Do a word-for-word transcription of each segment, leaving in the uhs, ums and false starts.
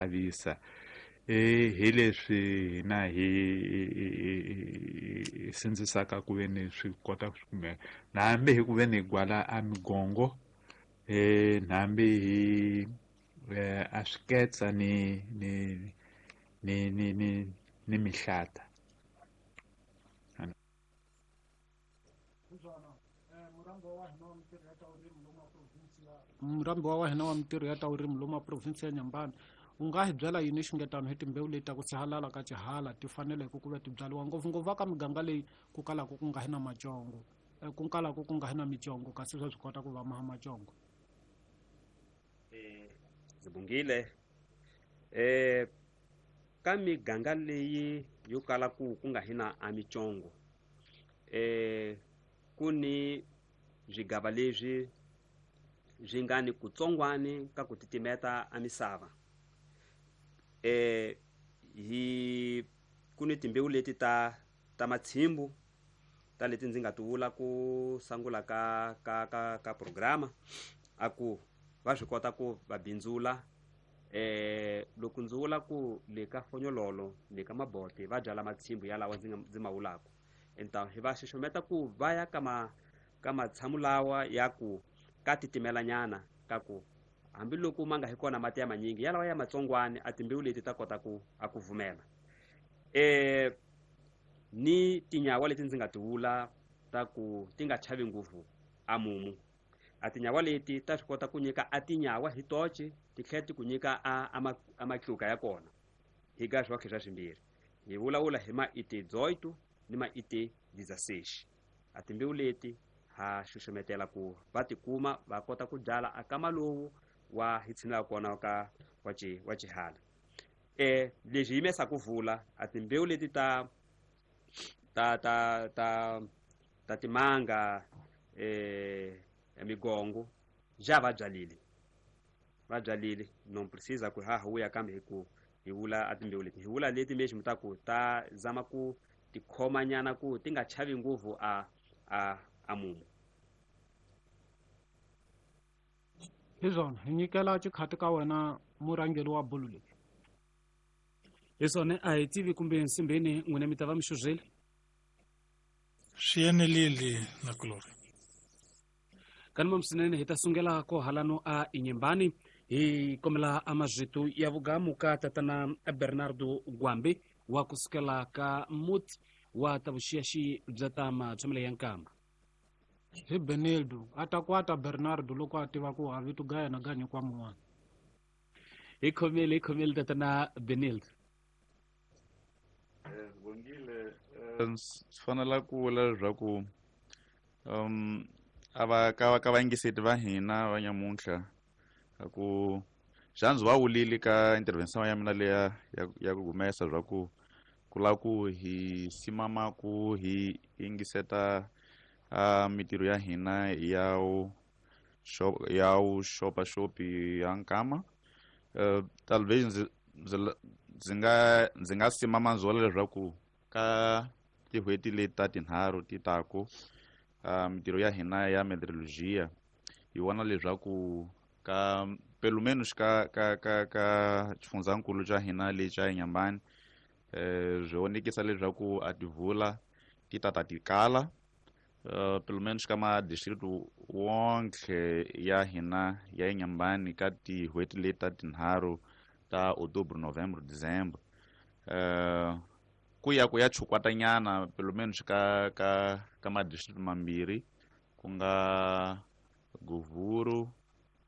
Xavisa eh hi leswi hina hi hi sindzisaka ku ve ni swi kota ku kumeka hambi hi ku ve ni gwala a migongo eh hambi hi a swiketsa ni ni ni ni ni ni mihlata. Murambiwa wa hina wa mintirho ya ta vurimi lomu a province ya Nyambani, u nga hi byela yini xingetano hi timbewu leti ta ku sihalala ka xihala ti faneleke ku va ti byariwa ngopfungopfu eka miganga leyi ku kalaka ku nga hi na macongo, ku kalaka ku nga hi na micongo, kasi swa swi kota ku va maha macongo? Eh ndzi bungile eh ka miganga leyi yo kala ku ku nga hi na a micongo, eh ku ni swigava leswi swi nga ni kutsongwani ka ku titimeta a misava. Eh hi ku ni timbewu leti ta ta matshimbu ta leti ndzi nga ti vula ku sungula ka ka ka ka programa a ku va swi kota ku va bindzula. Eh loko ndzi vula ku le ka fonyololo le ka mabote va byala matshimbu ya lawa ndzi nga ndzi ma vulaka, enta hi va xixometa ku va ya ka ma ka matshamu lawa ya ku ka titimelanyana ka ku hambiloko ma nga hi kona mati ya manyingi yalawa ya matsongwani a timbewu leti ta kota ku a ku vumela. Eh ni tinyawa leti ndzi nga ti vula ta ku ti nga chavi ngopfu a mumu, a tinyawa leti ta swi kota ku nyika a tinyawa hi toce ti tlhela ti ku nyika a a a matluka ya kona hi ga swa swa swimbirhi. Hi vulavula hi ma ite dezoito ni ma ite dezesseis. A timbewu leti ha xuxumetela ku va tikuma va kota ku byala a kama lowu wa hi tshinela kona ka wa ci wa xihala. Eh leswi yimesa ku vula a timbewu leti ta ta ta ta ta timanga eh migongo ja va byalile va byalile non precisa ku ha huya kambe hi ku hi vula a timbewu leti hi vula leti mesmo ta ku ta zama ku tikhomanyana ku ti nga chavi ngopfu a a a mumu. Hi swona hi nyikela xikhati ka wena murhangeri wa bolo leyi. Hi swona a hi tivi kumbe nsimbeni n'wina mi ta va mi xuzile. Swi enelile na kulori. Kanuma msinene hi ta sungela ko halano a Inhambane hi kombela a mazwitu ya vugamu ka tatana Bernardo Gwambe wa kusukela ka muti wa ta vuxiyaxi bya ta matshamelo ya nkamba. Hi Benildo a ta kwata Bernardo loko a tiva ku a vito ga yena ga nyikwa mun'wana. Hi khomele hi khomele tatana Benildo. Eh bongile swi fanela ku vula leswaku um a va ka ka vayingiseti va hina va nyamuntlha ku xandzi va wulile ka intervention ya mina leya ya ku humesa swa ku ku lava ku hi simama ku hi yingiseta a mintirho ya hina ya wu ya wu xopaxopi ya nkama. Talvez ndzi ndzi ndzi nga ndzi nga simama ndzi vula leswaku ka tin'hweti leti ta tinharhu ti taku mintirho ya hina ya meteorologia hi vona leswaku ka pelo menos ka ka ka ka xifundzankulu xa hina lexi xa Inhambane eh swi vonekisa leswaku a tivula ti tata ti kala Uh, pelo menos ka ma-district wonke ya hina ya Inhambane ka tin'hweti leti ta tinharhu ta Outubro, Novembro, Dezembro uh, ku ya ku ya chukwatanyana pelo menos ka ka ka ma-district mambirhi ku nga Govuro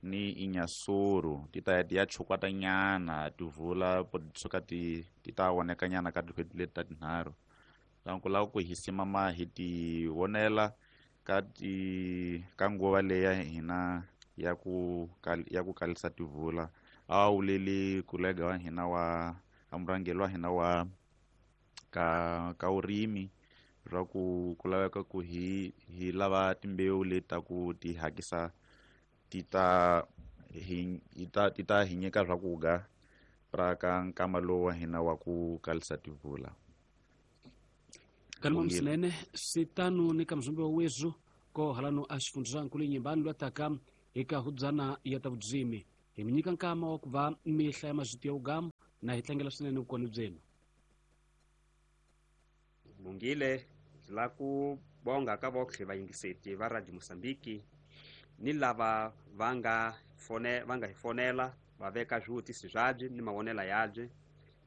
ni Inhassoro ti ta ya ti ya chukwatanyana tivula suka ti ti ta vonekanyana ka tin'hweti leti ta tinharhu. Donc lava ku hi simama hi ti vonela ka ti ka nguva leya hina ya ku ya ku kalisa tivula a wuleli kolega wa hina wa murhangeri wa hina wa ka ka vurimi swa ku ku laveka ku hi hi lava timbewu leti ta ku ti hakisa ti ta hi ta ti ta hi nyika swakudya ra ka nkama lowu wa hina wa ku kalisa tivula. Kanuma msinene sitano ni kamzumbe wa wezu ko halano a xifundzankulu Inhambane lwa taka eka hudzana ya ta vudzimi Hi mi nyika nkama wa ku va mi hlaya mazwiti ya vugamu na hi tlangela swinene vukona byenu. Mungile ndzi lava ku bonga ka votlhe vayingiseti va Radio Mozambique ni lava va nga fone va nga hi fonela va veka swivutiso byabye ni mavonelo yabye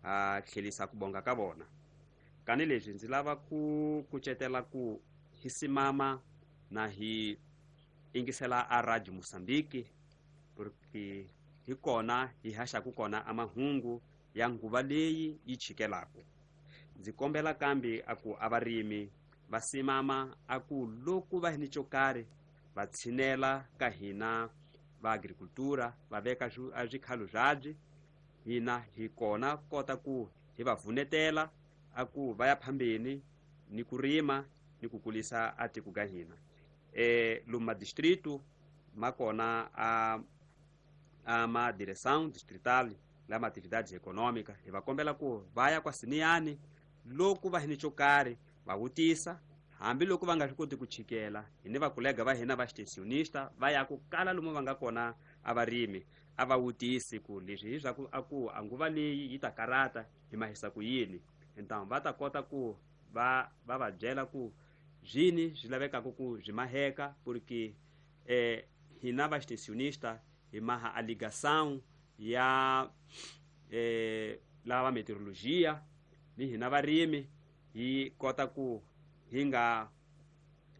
a tlhelisa ku bonga ka vona. Kani leswi ndzi lava ku kucetela ku hi simama na hi ingisela a Radio Mozambique porque hi kona hi haxaku kona a mahungu ya nguva leyi yi chikelaku. Ndzi kombela kambe a ku a varimi va simama a ku loko va ni xo karhi va tshinela ka hina va agricultura va veka a swikhalo byabye hina hi kona kota ku hi va vunetela a ku va ya phambeni ni ku rima ni ku kulisa a tiko ka hina. Eh luma distrito ma kona a a ma direção distrital la ma atividades econômica hi va kombela ku va ya kwa siniyani loko va hi ni xo karhi va vutisa hambi loko va nga swi koti ku chikela hi ni vakolega va hina va extensionista va ya ku kala lomu va nga kona a varimi a va vutisi ku leswi hi swa ku a ku a nguva leyi yi ta karata hi mahisa ku yini. Então va ta kota ku va va va byela ku zwini swi lavekaka ku byi maheka porque eh hina va extensionista hi maha a ligação ya eh lava meteorologia ni hina varimi hi kota ku hi nga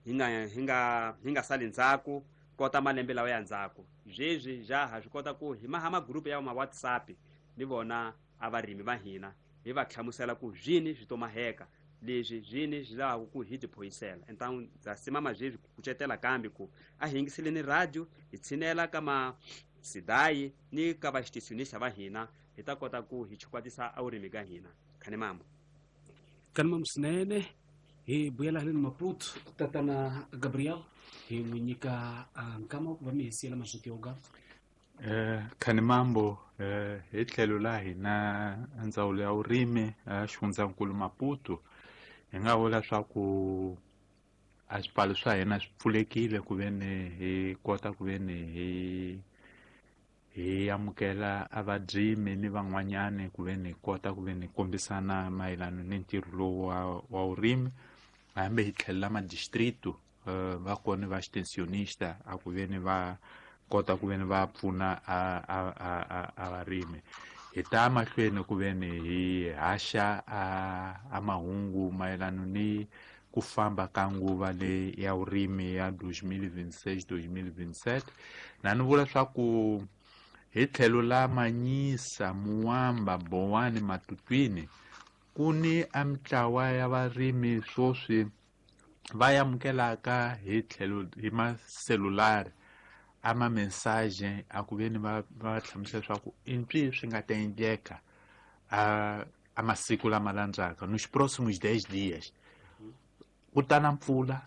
hi nga hi nga hi nga sali ndzhaku kota malembe lawa ya ndzhaku. Zwezwi ja ha swi kota ku hi maha magrupu ya ma WhatsApp ni vona a varimi va hina hi va hlamusela ku zwini swi to maheka leswi zwini swi lavaka ku hi tiphoyisela. Então ndza simama zwezwi ku kucetela kambe ku a hi yingiseleni radio hi tshinela ka ma sidayi ni ka va extensionista va hina hi ta kota ku hi chukwatisa a vurimi ka hina. Khani mambo kani mambo swinene. Hi vuyela haleni Maputo tatana Gabriel hi n'wi nyika nkama wa ku va mi hi siyela mazwiti ya vugamu. Eh khani mambo eh hi tlhelo la hina ndzawulo ya vurimi a xifundzankulu Maputo hi nga vula swa ku a swipfalo swa hina swi pfulekile ku ve ni hi kota ku ve ni hi hi amukela a vadrimi ni van'wanyani ku ve ni kota ku ve ni kombisana mayelana ni ntirho lowu wa wa vurimi. Hambi hi tlhelela madistrito va kona va extensionista a ku ve ni va kota ku ve ni va pfuna a a a a varimi. Hi ta mahlweni ku ve ni hi haxa a a mahungu mayelana ni ku famba ka nguva leyi ya vurimi ya dois mil e vinte e seis dois mil e vinte e sete. Na ni vula swa ku hi tlhelo la Manyisa, Muwamba, Bowani, Matutwini ku ni a mitlawa ya varimi swoswi va amukelaka hi tlhelo hi maselulari a ma mensagem a ku ve ni va va hlamusela leswaku i mpfi swi nga ta endleka a a masiku lama landzaka nos próximos dez dias ku ta na mpfula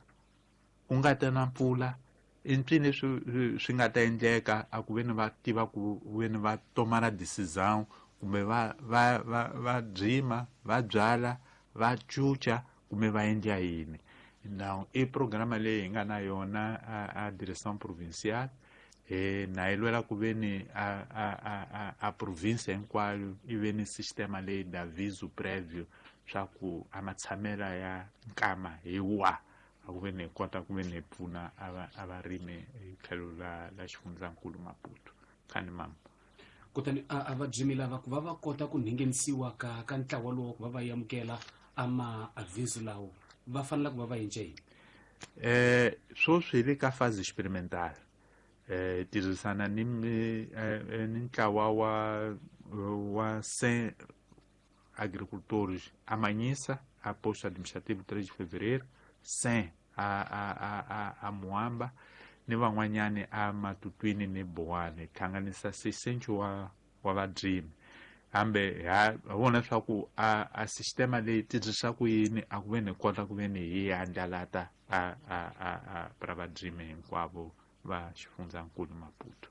ku nga ta na mpfula i mpfi leswi swi nga ta endleka a ku ve ni va tiva ku ve ni va tomara decisão kumbe va va va va dzima va byala va cuca kumbe va endla yini. Now i programa leyi hi nga na yona a, a direção provincial eh na yi lwela ku ve ni a a a a província hinkwayo i ve ni sistema leyi da aviso prévio swa ku a matshamela ya nkama hi wa a ku ve ni kota ku ve ni pfuna a a varimi hi tlhelo la la xifundzankulu Maputo. Khani mama kutani a va dzimi lava ku va va kota ku nghenisiwa ka ka ntlawa lowu ku va va amukela ama aviso lawo va fanele ku va va endla yini? Eh swoswi hi le ka fase experimental eh tirhisana ni ni ntlawa wa wa cem agricultores a Manhissa a posto administrativo três de fevereiro cem a a a a, a Muamba ni van'wanyani a Matutwini ni Bowane hlanganisa seiscentos wa wa vadrimi. Hambe ha vona leswaku a a sistema leyi tirhisa ku yini a ku ve ni kota ku ve ni hi andlalata a a a a pra vadrimi hinkwavo va xifundzankulu Maputo.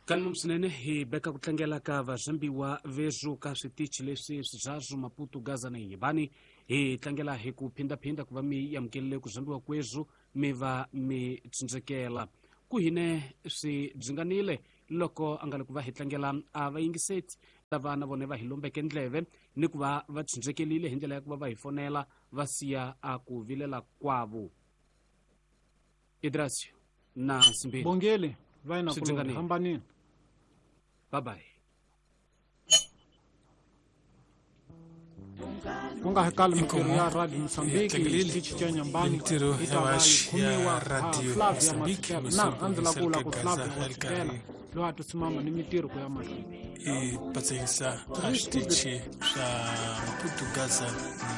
Kanum swinene hi beka ku tlangela ka vazambiwa vezu ka switichi leswi swizazu Maputo, Gaza na Inhambane. Hi tlangela hi ku phindaphinda ku va mi amukelele ku zambiwa kwezu mi va mi tsindzekela ku hine swi bzinganile loko a nga le ku va hi tlangela a vayingiseti lava na vona va hi lombeke ndleve ni ku va va tshunxekelile hi ndlela ya ku va va hi fonela va siya a ku vilela kwavo. Idrasio na Simbeni Bongele va na ku hambanini. Bye bye. Ku nga hakali mintirho ya Radio Mozambique xitichi xa Nyambani mintirho yi ta ya va yi vaxi khomiwa ya Radio Flavia Mozambique Masekela na a ndzi lava ku vula ku Gaza Flavia a ri Masekela karhi loyi a tisimama ni mintirho ku ya mahlweni. I patsahisa a switichi swa Maputo, Gaza na